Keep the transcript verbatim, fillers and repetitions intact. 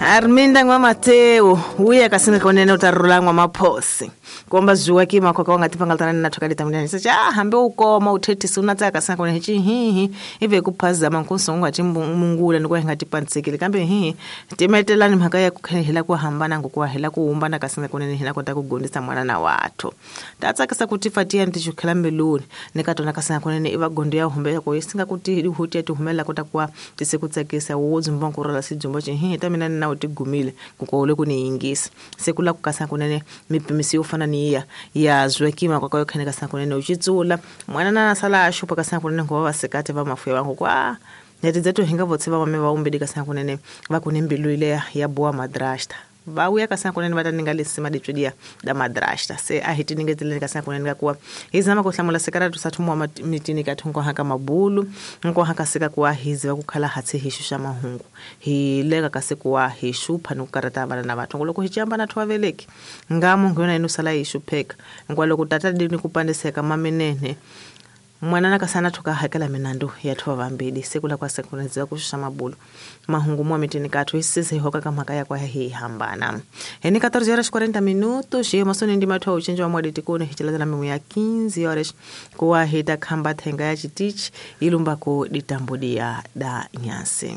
Arminda N'wa Mateu uya kasinga konene utarula N'wa Maphosi komba zuwa ki makoka wanga tipangaltana na thoka ditamina cha hambe ukoma uthethisa una tsaka kasinga konene chi hihi ive kuphazama nkusongo ati mungula ni kwa hinga tipantsikile kambe hihi timetelani mhaka ya kukhehela ku hambana ngokuwa hela ku humbana kasinga konene hina kota ku gondisa mwana na wathu tatsakisa kuti fatia ntichukhela mbiluni nikatona kasinga konene iva gondo ya humbe ko isinga kuti huti ya tihumela kota kuwa tisekutsakisa wo dzumba nkurala sidzumba chi hihi ta mina na u tigumile kukole ku ni yingisa se ku la ku kasa kunene mipimisi yo fana ni ya ya zwekima kwa yo khene kasa kunene u chitsula mwana na sala a xupa kasa kunene ngo va sekate va mafuya vangu kwa neti dzetu hinga votse va mame va umbedi kasa kunene va ku ni mbilu ile ya boa madrasta va uya kasa kunene va ta ninga lesima ditswedia da madrasta se a hi tiningeteleni kasa kunene ka kuwa hi zama ku hlamula sekaratu sa thumwa mitini ka thungo haka mabulu nko haka sika kuwa hi ziva ku khala hatsi hi xuxa mahungu hi leka kasi kuwa hi xupha ni ku karata vana na vathu loko hi chamba na thwa veleki ngamo ngona inu sala hi xupheka ngwa loko tata dini ku pandiseka mamenene mwana nakasana thoka hakela minandu ya thwa vambili sekula kwa sekuneza kushusha mabulu mahungu mwa mitini kathu isise hoka kama ya kwa hi hambana heni catorze horas quarenta minutos e masoni ndi mathu uchenjo wa mwadi tikone hichilazana mimu ya quinze horas kuwa hita khamba thenga ya chitichi ilumba ku ditambudia da nyasi.